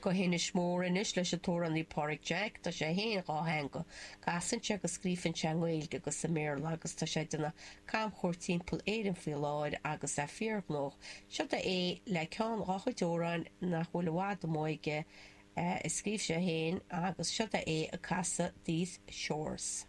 Go hInis Mór anois leis an t-amhránaí Páraic Jack. Tá sé féin dhátheangach. Casann sé agus scríobhann sé i nGaeilge agus i mBéarla agus tá sé ag déanamh camchuairt timpeall Éireann faoi láthair agus é fíorghnóthach. Seod é le ceann dhá chuid amhráin nach bhfuil i bhfad amuigh aige a scríobh sé féin agus seod é ag casadh These Shores.